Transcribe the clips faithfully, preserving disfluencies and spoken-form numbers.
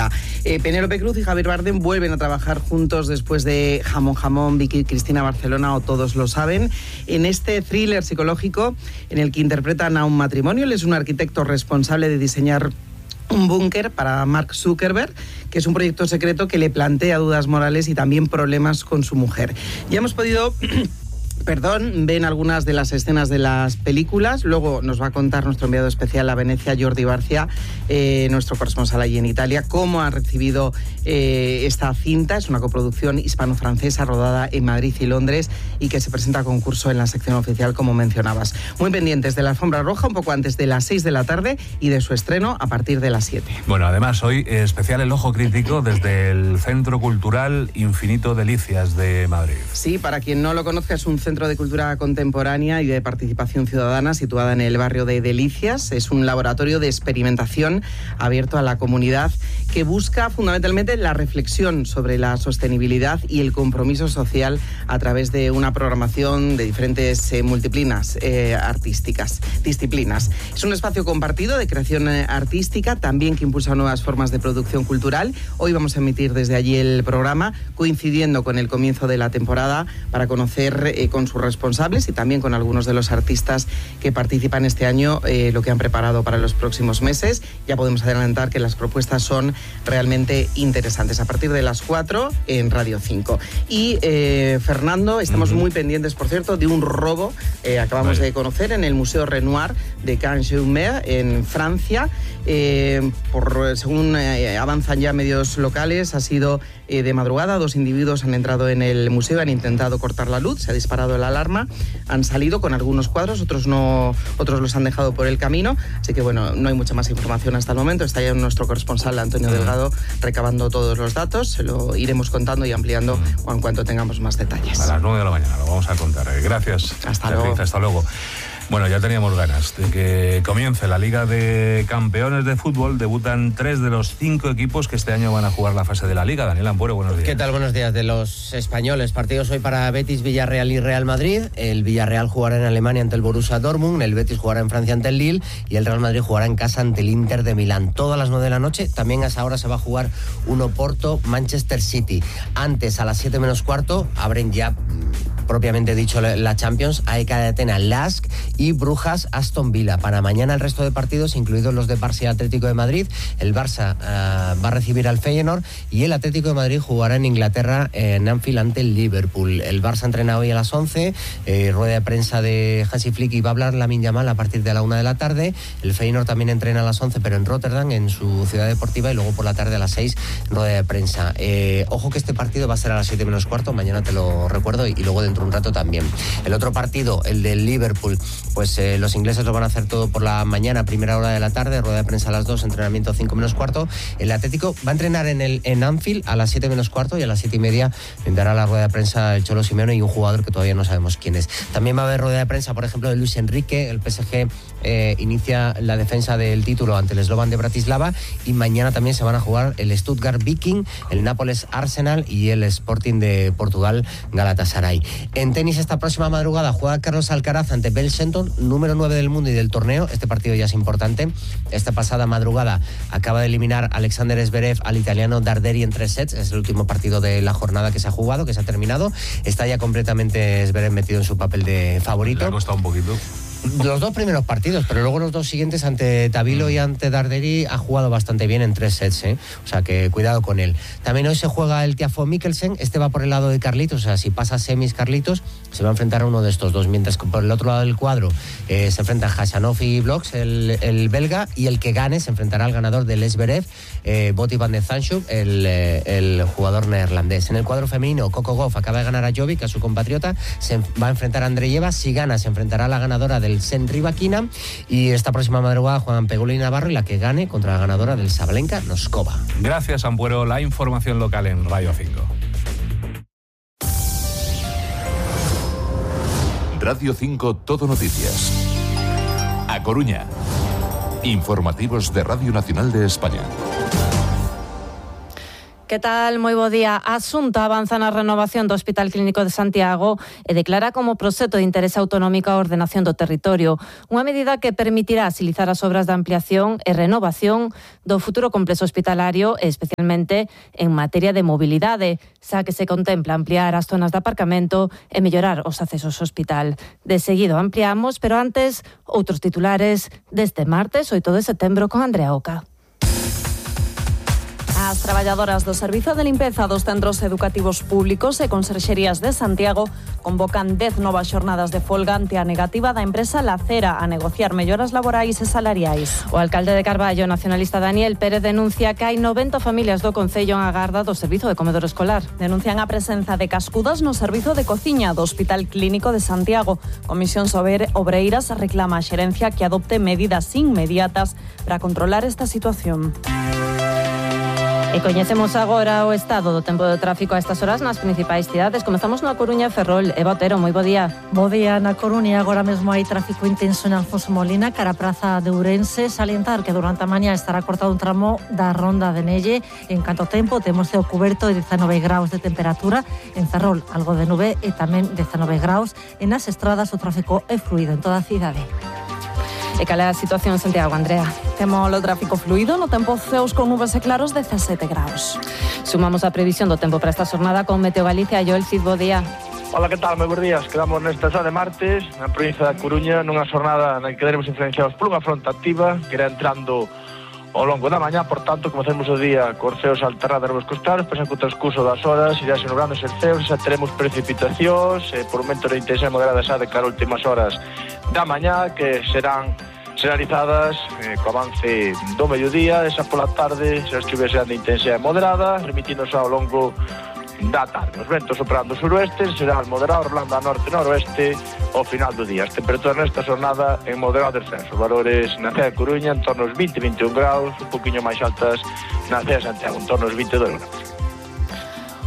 América. Eh, Penélope Cruz y Javier Bardem vuelven a trabajar juntos después de Jamón Jamón, Vicky Cristina Barcelona o Todos lo saben, en este thriller psicológico en el que interpretan a un matrimonio. Él es un arquitecto responsable de diseñar un búnker para Mark Zuckerberg, que es un proyecto secreto que le plantea dudas morales y también problemas con su mujer. Ya hemos podido... Perdón, ven algunas de las escenas de las películas. Luego nos va a contar nuestro enviado especial a Venecia, Jordi Barcia, eh, nuestro corresponsal allí en Italia, cómo ha recibido eh, esta cinta. Es una coproducción hispano-francesa rodada en Madrid y Londres y que se presenta a concurso en la sección oficial, como mencionabas. Muy pendientes de la alfombra roja, un poco antes de las seis de la tarde y de su estreno a partir de las siete. Bueno, además hoy eh, especial el ojo crítico desde el Centro Cultural Infinito Delicias de Madrid. Sí, para quien no lo conozca, es un centro de cultura contemporánea y de participación ciudadana situada en el barrio de Delicias. Es un laboratorio de experimentación abierto a la comunidad que busca fundamentalmente la reflexión sobre la sostenibilidad y el compromiso social a través de una programación de diferentes eh, multiplinas eh, artísticas, disciplinas. Es un espacio compartido de creación eh, artística, también que impulsa nuevas formas de producción cultural. Hoy vamos a emitir desde allí el programa, coincidiendo con el comienzo de la temporada, para conocer eh, con sus responsables y también con algunos de los artistas que participan este año eh, lo que han preparado para los próximos meses. Ya podemos adelantar que las propuestas son realmente interesantes. A partir de las cuatro en Radio cinco. Y eh, Fernando, estamos uh-huh. muy pendientes, por cierto, de un robo. Eh, acabamos vale. de conocer en el Museo Renoir de Cannes-Jumer, en Francia. Eh, por, según eh, avanzan ya medios locales, ha sido eh, de madrugada. Dos individuos han entrado en el museo, han intentado cortar la luz, se ha disparado la alarma, han salido con algunos cuadros, otros no, otros los han dejado por el camino, así que bueno, no hay mucha más información hasta el momento. Está ya nuestro corresponsal Antonio Delgado recabando todos los datos, se lo iremos contando y ampliando en cuanto tengamos más detalles. A las nueve de la mañana lo vamos a contar. Gracias. Hasta luego. Hasta luego. Bueno, ya teníamos ganas de que comience la Liga de Campeones de Fútbol. Debutan tres de los cinco equipos que este año van a jugar la fase de la Liga. Daniel Ampuero, buenos días. ¿Qué tal? Buenos días. De los españoles, partidos hoy para Betis, Villarreal y Real Madrid. El Villarreal jugará en Alemania ante el Borussia Dortmund, el Betis jugará en Francia ante el Lille y el Real Madrid jugará en casa ante el Inter de Milán. Todas las nueve de la noche. También a esa hora se va a jugar un Oporto Manchester City. Antes, a las siete menos cuarto, abren ya propiamente dicho la Champions, A E K de Atenas, Lask y Brujas Aston Villa. Para mañana el resto de partidos, incluidos los de Barça y Atlético de Madrid. El Barça uh, va a recibir al Feyenoord y el Atlético de Madrid jugará en Inglaterra en Anfield ante el Liverpool. El Barça entrena hoy a las once, eh, rueda de prensa de Hansi Flick y va a hablar Lamine Yamal a partir de la una de la tarde. El Feyenoord también entrena a las once, pero en Rotterdam, en su ciudad deportiva, y luego por la tarde a las seis, rueda de prensa. Eh, ojo que este partido va a ser a las siete menos cuarto, mañana te lo recuerdo, y, y luego dentro de un rato también. El otro partido, el del Liverpool, pues eh, los ingleses lo van a hacer todo por la mañana, primera hora de la tarde, rueda de prensa a las dos, entrenamiento cinco menos cuarto. El Atlético va a entrenar en el en Anfield a las siete menos cuarto y a las siete y media dará la rueda de prensa el Cholo Simeone y un jugador que todavía no sabemos quién es. También va a haber rueda de prensa, por ejemplo, de Luis Enrique. El P S G eh, inicia la defensa del título ante el Slovan de Bratislava y mañana también se van a jugar el Stuttgart Viking, el Nápoles Arsenal y el Sporting de Portugal Galatasaray. En tenis, esta próxima madrugada juega Carlos Alcaraz ante Bell Shelton, número nueve del mundo y del torneo. Este partido ya es importante. Esta pasada madrugada acaba de eliminar Alexander Zverev al italiano Darderi en tres sets. Es el último partido de la jornada que se ha jugado, que se ha terminado. Está ya completamente Zverev metido en su papel de favorito. Le ha costado un poquito. Los dos primeros partidos, pero luego los dos siguientes ante Tabilo y ante Darderi ha jugado bastante bien en tres sets, ¿eh? O sea que cuidado con él. También hoy se juega el Tiafoe Mikkelsen, este va por el lado de Carlitos, o sea, si pasa semis Carlitos, se va a enfrentar a uno de estos dos, mientras que por el otro lado del cuadro eh, se enfrentan Khachanov y Bloks, el, el belga, y el que gane se enfrentará al ganador del Zverev, eh, Botti van de Zandschulp, el, eh, el jugador neerlandés. En el cuadro femenino, Coco Gauff acaba de ganar a Jovic, a su compatriota, se va a enfrentar a Andreyeva, si gana se enfrentará a la ganadora del Sen Rybakina, y esta próxima madrugada juegan Pegula y Navarro, y la que gane contra la ganadora del Sabalenka Noskova. Gracias, Ampuero. La información local en Radio cinco. Radio cinco Todo Noticias. A Coruña. Informativos de Radio Nacional de España. ¿Qué Que tal? Moi bo día. A Xunta avanza na renovación do Hospital Clínico de Santiago e declara como proxecto de interese autonómico a ordenación do territorio. Unha medida que permitirá agilizar as obras de ampliación e renovación do futuro complexo hospitalario, especialmente en materia de mobilidade, xa que se contempla ampliar as zonas de aparcamento e mellorar os accesos ao hospital. De seguido ampliamos, pero antes, outros titulares deste martes, oito de setembro, con Andrea Oca. As traballadoras do Servizo de Limpeza dos Centros Educativos Públicos e Conserxerías de Santiago convocan dez novas xornadas de folga ante a negativa da empresa Lacera a negociar melloras laborais e salariais. O alcalde de Carballo, nacionalista Daniel Pérez, denuncia que hai noventa familias do concello en agarda do servizo de comedor escolar. Denuncian a presenza de cascudas no servizo de cociña do Hospital Clínico de Santiago. Comisión Obreiras reclama a xerencia que adopte medidas inmediatas para controlar esta situación. E coñecemos agora o estado do tempo de tráfico a estas horas nas principais cidades. Comezamos na Coruña e Ferrol. Eva Otero, moi bo día. Bo día na Coruña. Agora mesmo hai tráfico intenso en Alfonso Molina, cara a Praza de Ourense. Salientar que durante a mañá estará cortado un tramo da Ronda de Nelle. En canto tempo, temos ceo cuberto de dezanove graus de temperatura. En Ferrol, algo de nube e tamén dezanove graus. En as estradas, o tráfico é fluido en toda a cidade. E cal é a situación en Santiago, Andrea? Temos o tráfico fluido, no tempo ceos con nubes e claros, dezasete graus. Sumamos a previsión do tempo para esta jornada con Meteo Galicia. Joel Cid, bo día. Hola, que tal? Moi bons días. Quedamos nesta xa de martes, na provincia da Coruña, nunha jornada na que quedaremos influenciados por unha fronte activa que irá entrando ao longo da mañá, por tanto, comecemos o día con ceos alternados nos costados, pensa que o transcurso das horas irá xenobrándose os ceos, xa teremos precipitacións, e por momentos de intensidade moderada xa de cara a últimas horas da mañá, que serán generalizadas eh, co avance do mediodía, esa pola tarde, xa as chuvias serán de intensidade moderada, remitíndose ao longo da tarde. Os ventos operando suroeste serán moderados, rolando a norte-noroeste ao final do día. As temperaturas nesta jornada en moderado descenso. Valores na cidade de Coruña en torno aos vinte a veintiún graus, un poquinho máis altas na cidade de Santiago, en torno aos vinte e dois graus.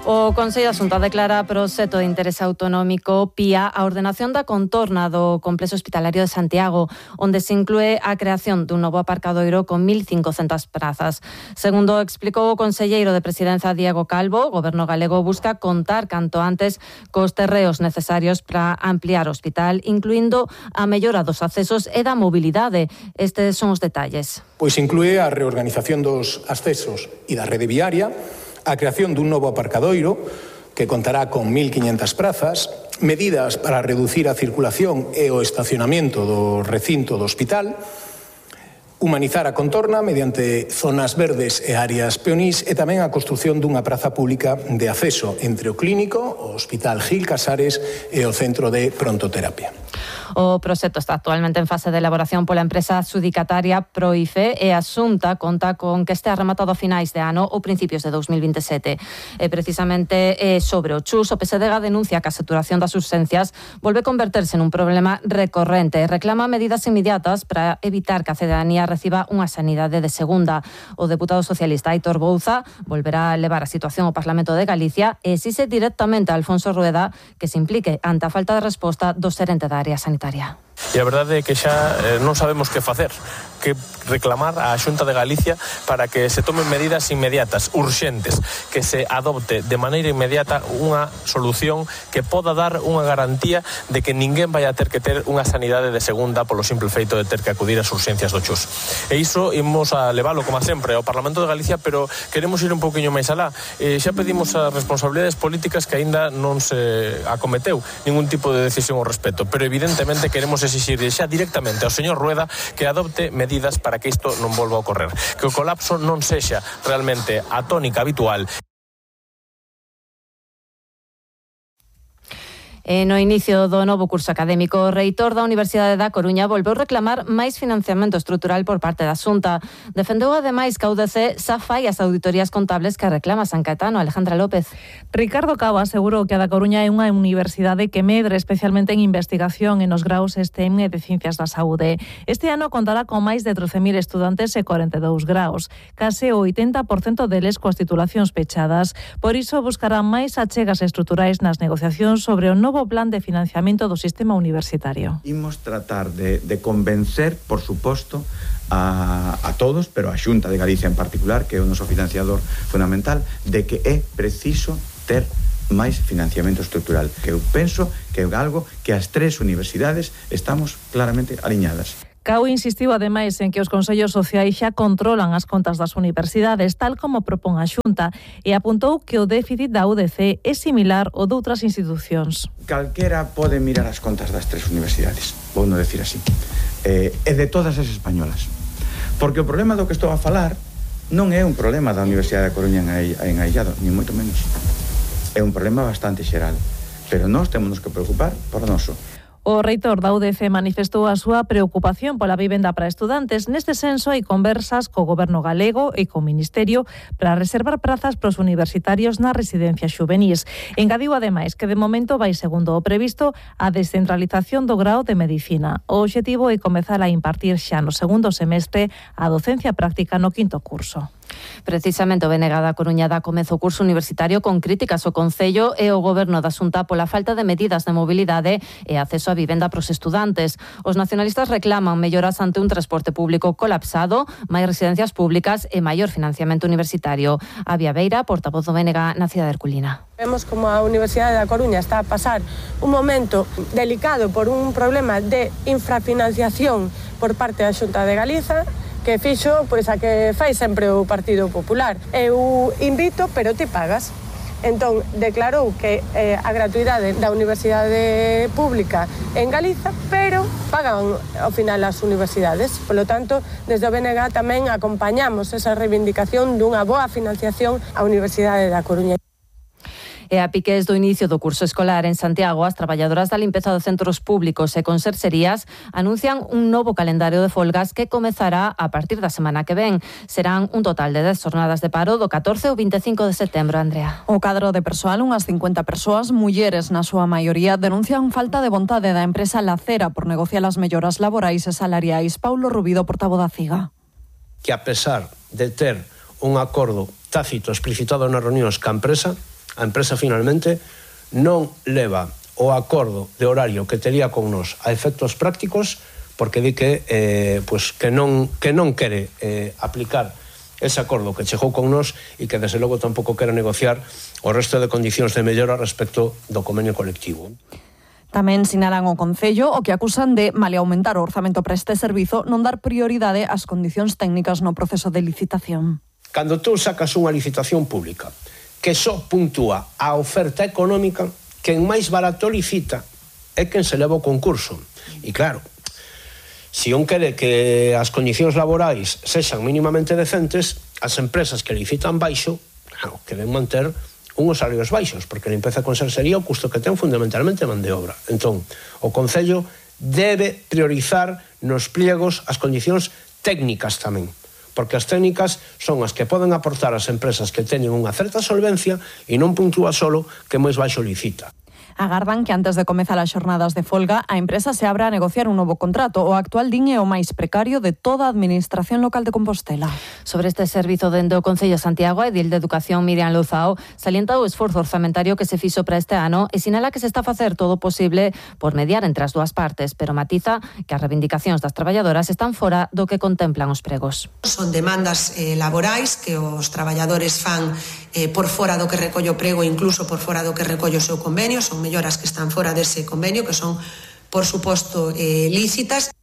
O Consello da Xunta declara proxecto de interese autonómico P I A a ordenación da contorna do complexo hospitalario de Santiago, onde se inclúe a creación dun novo aparcadoiro con mil cincocentas prazas. Segundo explicou o conselleiro de Presidencia Diego Calvo, o Goberno galego busca contar canto antes cos terreos necesarios para ampliar o hospital, incluindo a mellora dos accesos e da mobilidade. Estes son os detalles. Pois inclúe a reorganización dos accesos e da rede viaria, a creación dun novo aparcadoiro que contará con mil quinhentas prazas, medidas para reducir a circulación e o estacionamento do recinto do hospital, humanizar a contorna mediante zonas verdes e áreas peonís e tamén a construción dunha praza pública de acceso entre o clínico, o Hospital Gil Casares e o Centro de Prontoterapia. O proxecto está actualmente en fase de elaboración pola empresa adxudicataria Proife e a Xunta conta con que este rematado a finais de ano ou principios de dous mil vinte e sete. E precisamente sobre o Chus, o P S D G denuncia que a saturación das urxencias volve a converterse nun problema recorrente e reclama medidas inmediatas para evitar que a cidadanía reciba unha sanidade de segunda. O deputado socialista Aitor Bouza volverá a levar a situación ao Parlamento de Galicia e exixe directamente a Alfonso Rueda que se implique ante a falta de resposta do xerente da área sanitaria. E a verdade é que xa eh, non sabemos que facer, que reclamar á Xunta de Galicia para que se tomen medidas inmediatas, urxentes, que se adopte de maneira inmediata unha solución que poda dar unha garantía de que ninguén vai a ter que ter unha sanidade de segunda polo simple feito de ter que acudir ás urxencias do Chus. E iso imos a leválo, como sempre, ao Parlamento de Galicia, pero queremos ir un pouquiño máis alá. E xa pedimos as responsabilidades políticas que aínda non se acometeu ningún tipo de decisión ao respecto, pero evidentemente queremos exixir xa directamente ao señor Rueda que adopte medidas para que isto non volva a ocorrer, que o colapso non sexa realmente a tónica habitual. E no inicio do novo curso académico, o reitor da Universidade da Coruña volveu reclamar máis financiamento estrutural por parte da Xunta. Defendeu ademais que a U D C xa fai as auditorías contables que reclama San Caetano. Alejandra López. Ricardo Cabo asegurou que a da Coruña é unha universidade que medre especialmente en investigación e nos graus STEM e de Ciencias da Saúde. Este ano contará con máis de trece mil estudantes e corenta e dous graus, case o oitenta por cento deles coas titulacións pechadas. Por iso buscará máis achegas estruturais nas negociacións sobre o novo novo plan de financiamento do sistema universitario. Imos tratar de, de convencer, por suposto, a, a todos, pero a Xunta de Galicia en particular, que é o noso financiador fundamental, de que é preciso ter máis financiamento estrutural, que eu penso que é algo que as tres universidades estamos claramente aliñadas. Cao insistiu ademais en que os consellos sociais xa controlan as contas das universidades, tal como propón a Xunta, e apuntou que o déficit da U D C é similar ao de outras institucións. Calquera pode mirar as contas das tres universidades, vou non decir así, eh, e de todas as españolas. Porque o problema do que estou a falar non é un problema da Universidade da Coruña en aillado, ni moito menos. É un problema bastante xeral, pero nós temos que preocupar por noso. O reitor da U D C manifestou a súa preocupación pola vivenda para estudantes. Neste senso, hai conversas co goberno galego e co Ministerio para reservar prazas pros universitarios nas residencias xuvenís. Engadiu ademais que de momento vai segundo o previsto a descentralización do grao de Medicina. O obxectivo é comezar a impartir xa no segundo semestre a docencia práctica no quinto curso. Precisamente o B N G da Coruña dá comezo o curso universitario con críticas ao Concello e o Goberno da Xunta pola falta de medidas de mobilidade e acceso a vivenda pros estudantes. Os nacionalistas reclaman melloras ante un transporte público colapsado, máis residencias públicas e maior financiamento universitario. Avia Beira, portavoz do B N G na cidade herculina. Vemos como a Universidade da Coruña está a pasar un momento delicado por un problema de infrafinanciación por parte da Xunta de Galiza, que fixo pois a que fai sempre o Partido Popular. Eu invito, pero ti pagas. Entón, declarou que eh, a gratuidade da Universidade Pública en Galiza, pero pagan ao final as universidades. Por lo tanto, desde o B N G tamén acompañamos esa reivindicación dunha boa financiación á Universidade da Coruña. E a piques do inicio do curso escolar en Santiago, as traballadoras da limpeza dos centros públicos e conserxerías anuncian un novo calendario de folgas que comezará a partir da semana que ven. Serán un total de dez jornadas de paro do catorce ao vinte e cinco de setembro, Andrea. O cadro de persoal, unhas cincuenta persoas, mulleres na súa maioría, denuncian falta de vontade da empresa Lacera por negociar as melloras laborais e salariais. Paulo Rubido, portavoz da CIGA. Que a pesar de ter un acordo tácito explicitado nas reunións ca empresa, a empresa finalmente non leva o acordo de horario que tería con nós a efectos prácticos, porque di que eh, pues que non que non quere eh, aplicar ese acordo que chegou con nós e que desde logo tampouco quere negociar o resto de condicións de mellora respecto do convenio colectivo. Tamén sinalan o Concello o que acusan de maleaumentar o orzamento para este servizo, non dar prioridade ás condicións técnicas no proceso de licitación. Cando tú sacas unha licitación pública que só puntúa a oferta económica, quen máis barato licita é quen se leva o concurso. E claro, se un quere que as condicións laborais sexan mínimamente decentes, as empresas que licitan baixo, claro, queren manter unhos salarios baixos, porque a limpeza e conserxería o custo que ten fundamentalmente man de obra. Entón, o Concello debe priorizar nos pliegos as condicións técnicas tamén, porque as técnicas son as que poden aportar ás empresas que teñen unha certa solvencia e non puntúa solo que máis baixo licita. Agardan que antes de comezar as xornadas de folga, a empresa se abra a negociar un novo contrato. O actual din é o máis precario de toda a administración local de Compostela. Sobre este servizo dende o Concello de Santiago, a edil de Educación Miriam Louzao salienta o esforzo orzamentario que se fixo para este ano e sinala que se está a facer todo o posible por mediar entre as dúas partes, pero matiza que as reivindicacións das traballadoras están fora do que contemplan os pregos. Son demandas eh, laborais que os traballadores fan eh, por fora do que recolle o prego, incluso por fora do que recolle o seu convenio, son melloras que están fora dese convenio, que son, por suposto, eh, lícitas.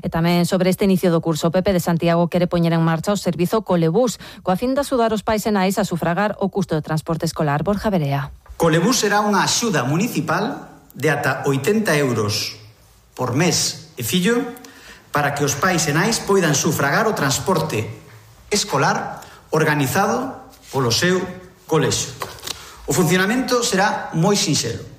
E tamén sobre este inicio do curso, o P P de Santiago quere poñer en marcha o servizo Colebús, coa fin de axudar os pais e nais a sufragar o custo de transporte escolar. Borja Berea. Colebús será unha axuda municipal de ata oitenta euros por mes e fillo para que os pais e nais poidan sufragar o transporte escolar organizado polo seu colexio. O funcionamento será moi sinxelo.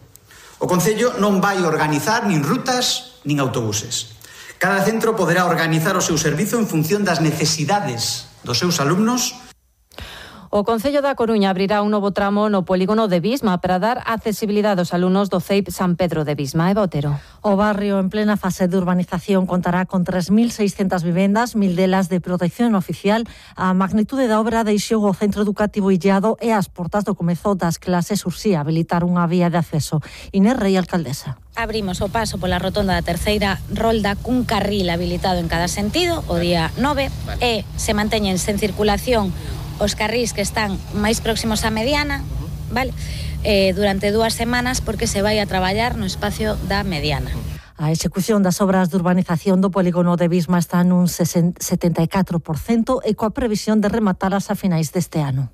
O Concello non vai organizar nin rutas nin autobuses. Cada centro poderá organizar o seu servizo en función das necesidades dos seus alumnos. O Concello da Coruña abrirá un novo tramo no polígono de Visma para dar accesibilidade aos alumnos do C E I P San Pedro de Visma. Eva Otero. O barrio en plena fase de urbanización contará con tres mil seiscentas vivendas, mil delas de protección oficial. A magnitude da obra deixou o centro educativo illado e as portas do comezo das clases ursía habilitar unha vía de acceso. Inés Rey, alcaldesa. Abrimos o paso pola rotonda da terceira rolda cun carril habilitado en cada sentido o día nove e se manteñen sen circulación os carrís que están máis próximos á mediana, vale? Eh, durante dúas semanas porque se vai a traballar no espacio da mediana. A execución das obras de urbanización do polígono de Visma está nun setenta e catro por cento e coa previsión de rematalas a finais deste ano.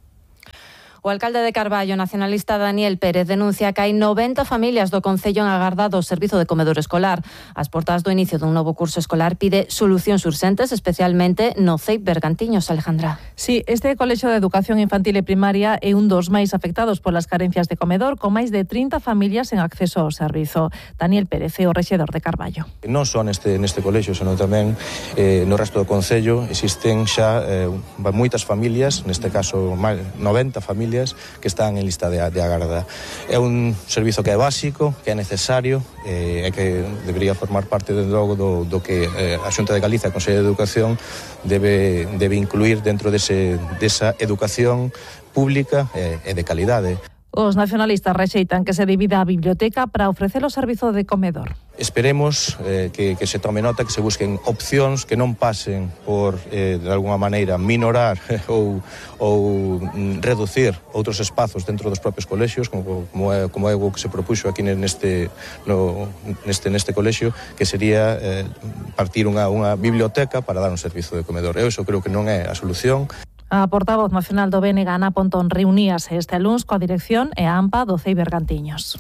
O alcalde de Carballo, nacionalista Daniel Pérez, denuncia que hai noventa familias do concello en agarda do servizo de comedor escolar. As portas do inicio dun novo curso escolar pide solucións urxentes, especialmente no C E I P Bergantiños, Alejandra. Sí, este colexio de educación infantil e primaria é un dos máis afectados polas carencias de comedor, con máis de trinta familias en acceso ao servizo. Daniel Pérez é o rexedor de Carballo. Non só neste, neste colexio, senón tamén eh, no resto do concello existen xa eh, moitas familias, neste caso noventa familias, que están en lista de, de agarda. É un servizo que é básico, que é necesario e eh, que debería formar parte de logo do, do que eh, a Xunta de Galicia, a Consello de Educación, debe, debe incluir dentro dese, desa educación pública e, e de calidade. Os nacionalistas rexeitan que se divida a biblioteca para ofrecer o servizo de comedor. Esperemos eh, que, que se tome nota, que se busquen opcións que non pasen por, eh, de alguna maneira, minorar ou, ou reducir outros espazos dentro dos propios colexios, como, como, é, como é o que se propuxo aquí neste, no, neste, neste colexio, que sería eh, partir unha, unha biblioteca para dar un servizo de comedor. Eu iso creo que non é a solución. A portavoz nacional do B N G, Ana Pontón, reuníase este luns coa dirección e a AMPA do C E I Bergantiños.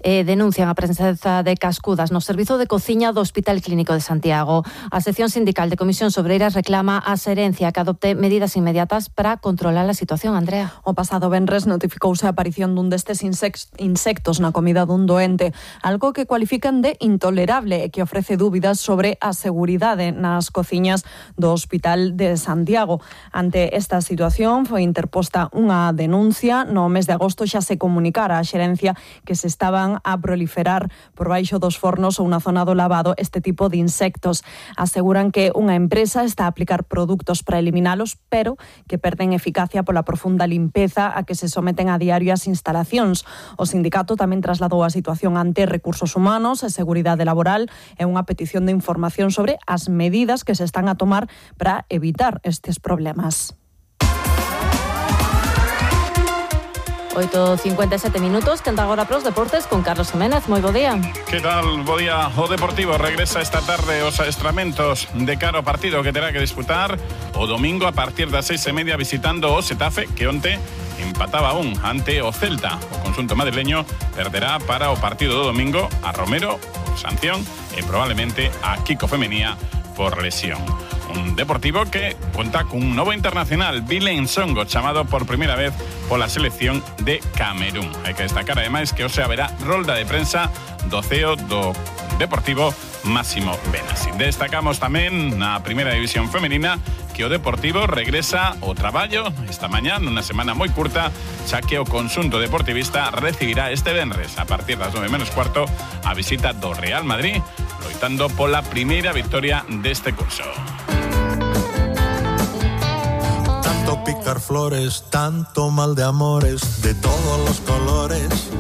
E denuncian a presenza de cascudas no servizo de cociña do Hospital Clínico de Santiago. A sección sindical de Comisións Obreiras reclama a xerencia que adopte medidas inmediatas para controlar a situación, Andrea. O pasado venres notificouse a aparición dun destes insectos na comida dun doente, algo que cualifican de intolerable e que ofrece dúbidas sobre a seguridade nas cociñas do Hospital de Santiago. Ante esta Esta situación foi interposta unha denuncia. No mes de agosto xa se comunicara á xerencia que se estaban a proliferar por baixo dos fornos ou na zona do lavado este tipo de insectos. Aseguran que unha empresa está a aplicar produtos para eliminalos, pero que perden eficacia pola profunda limpeza a que se someten a diario as instalacións. O sindicato tamén trasladou a situación ante Recursos Humanos e Seguridade Laboral e unha petición de información sobre as medidas que se están a tomar para evitar estes problemas. oito cincuenta e sete minutos, tenta agora pros deportes con Carlos Jiménez. Moi bo día. Que tal? Bo día. O Deportivo regresa esta tarde aos adestramentos de cara ao partido que terá que disputar o domingo a partir das seis e media visitando o Xetafe, que onte empataba un ante o Celta. O conxunto madrileño perderá para o partido do domingo a Romero por sanción e probablemente a Kiko Femenía por lesión. Un Deportivo que conta cun novo internacional, Bilen Songo, chamado por primeira vez pola selección de Camerún. Hai que destacar ademais que hoxe haberá rolda de prensa do C E O do Deportivo, Máximo Benassi. Destacamos tamén na primeira división femenina que o Deportivo regresa ao traballo esta mañá nunha semana moi curta, xa que o conxunto deportivista recibirá este venres a partir das nove menos cuarto a visita do Real Madrid, loitando pola primeira victoria deste curso. Tanto picar flores, tanto mal de amores, de todos los colores.